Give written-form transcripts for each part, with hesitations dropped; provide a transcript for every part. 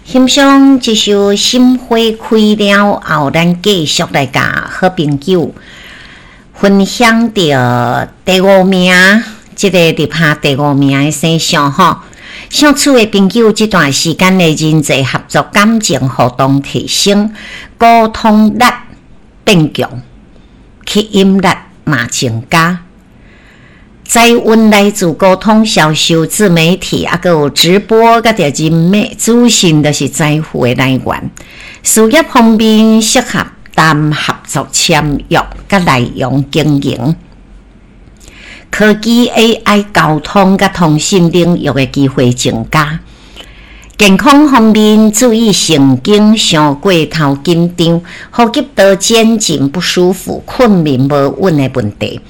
欣賞這首《心花開了後》，咱繼續來共好朋友分享著第五名，這个入下第五名的生肖吼。屬鼠的朋友，這段時間的人際合作、感情互動提升，溝通力變強，吸引力嘛增加。財運來自溝通、銷售、自媒體，抑閣有直播，佮著人脈資訊，都是財富的來源。事業方面適合談合作簽約，佮內容經營。科技、AI、交通佮通訊領域的機會增加。健康方面注意神經傷過頭緊張、呼吸道肩頸不舒服、睏眠無穩的問題。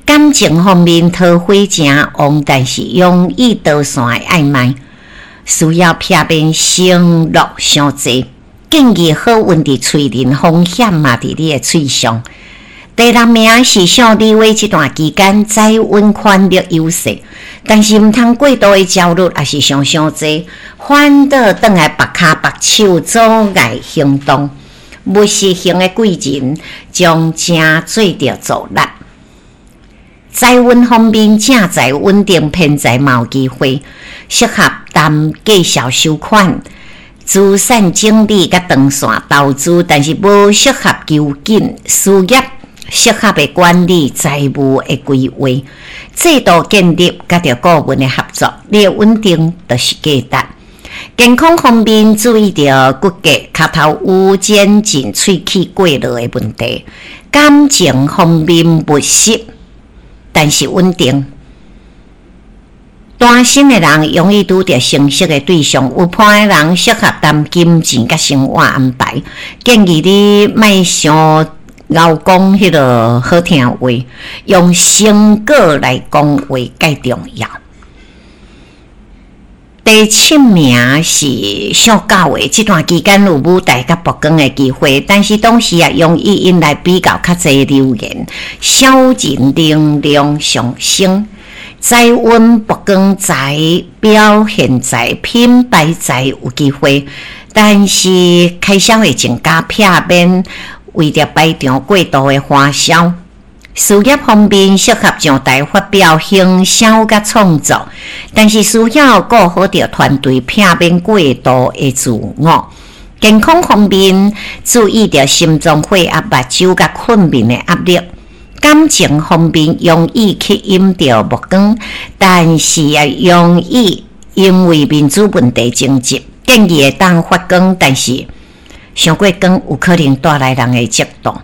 感情方面桃花誠旺，但是容易導線的曖昧，需要避免承諾傷濟。建議好運佇喙輪，風險嘛佇你的喙上。第六名是屬牛的，這段期間財運權力優勢，但是毋通過度的焦慮，抑是想傷濟，反倒轉來縛跤縛手，阻礙行動。務實型的貴人將誠做著助力。財運方面，正財穩定，偏財嘛有機會，適合談介紹收款、資產整理佮長線投資，但是無適合求緊事業，適合的管理財務的規劃、制度建立佮著顧問的合作，你的穩定就是價值。健康方面，注意著骨骼、跤頭趺、肩頸、喙齒過落的問題。感情方面務實，但是穩定。單身的人容易拄著相識的對象，有伴的人適合談金錢佮生活安排。建議你莫傷𠢕講彼个好聽話，用成果來講話較重要。第七名是屬狗的，這段期間有舞台佮曝光的機會，但是同時也容易引來比較較濟流言，小人能量上升，財運曝光財、表現財、品牌財有機會，但是開銷會增加，避免為著排場過度的花銷。事業方面適合上台發表、行銷佮創作，但是需要顧好著團隊，避免過度的自我。健康方面注意著心臟、血壓、目睭佮睏眠的壓力。感情方面容易吸引著目光，但是也容易因為面子問題爭執。建議會當發光，但是傷過光有可能帶來人的嫉妒。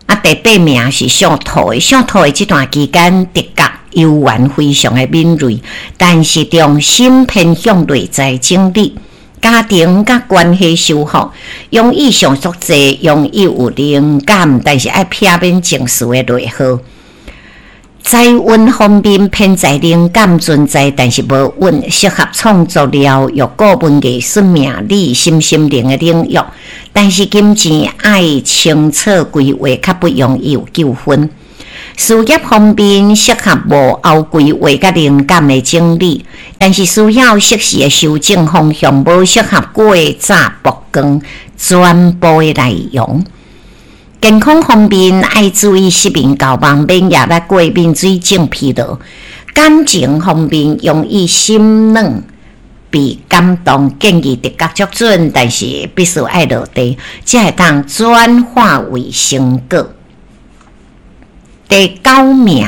啊，第八名是屬兔的，屬兔的這段期間，直覺猶原非常的敏銳，但是重心偏向內在整理、家庭佮關係修復，容易想足濟，容易有靈感，但是愛避免情緒的內耗。財運方面，偏財靈感存在，但是無穩，適合創作、療癒、顧問、藝術、命理、身心靈的領域。但是金錢愛清楚規劃，較不容易有糾紛。事業方面適合幕後規劃佮靈感的整理，但是需要適時的修正方向，無適合過早曝光全部的內容。健康方面愛注意失眠、健忘、免疫力過敏、水腫、疲勞。感情方面容易心軟被感動，建議直覺足準，但是必須愛落地，才會當轉化為成果。第九名，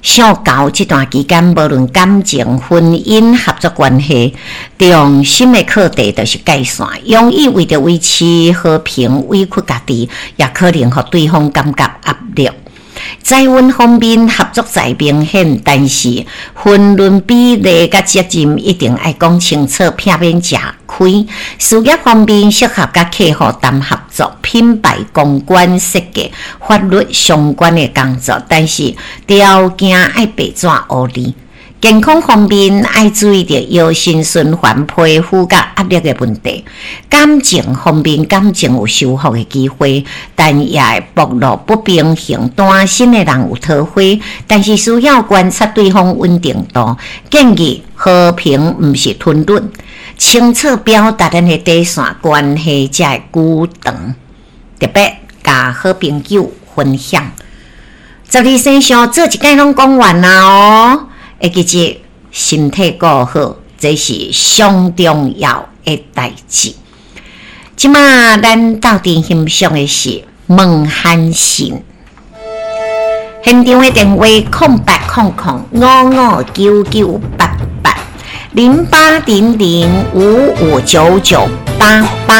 屬猴這段期間，無論感情、婚姻、合作關係，重心的課題就是界線，容易為著維持和平委屈家己，也可能予對方感覺壓力。財運方面合作財明顯，但是分潤比例佮責任一定愛講清楚，避免食虧。事業方面適合佮客戶談合作、品牌公關設計、法律相關的工作，但是條件愛白紙烏字。健康方面愛注意著腰身循環、皮膚佮壓力的問題。感情方面，感情有修復的機會，但也會暴露不平衡。單身的人有桃花，但是需要觀察對方穩定度。建議和平，毋是吞忍，清楚表達咱的底線，關係才會久長。特別共好朋友分享。12生肖做一擺攏講完啦哦。會記得身體顧好，這是上重要的代誌。這馬咱鬥陣欣賞的是孟漢信，現場的電話0800559988，0800559988。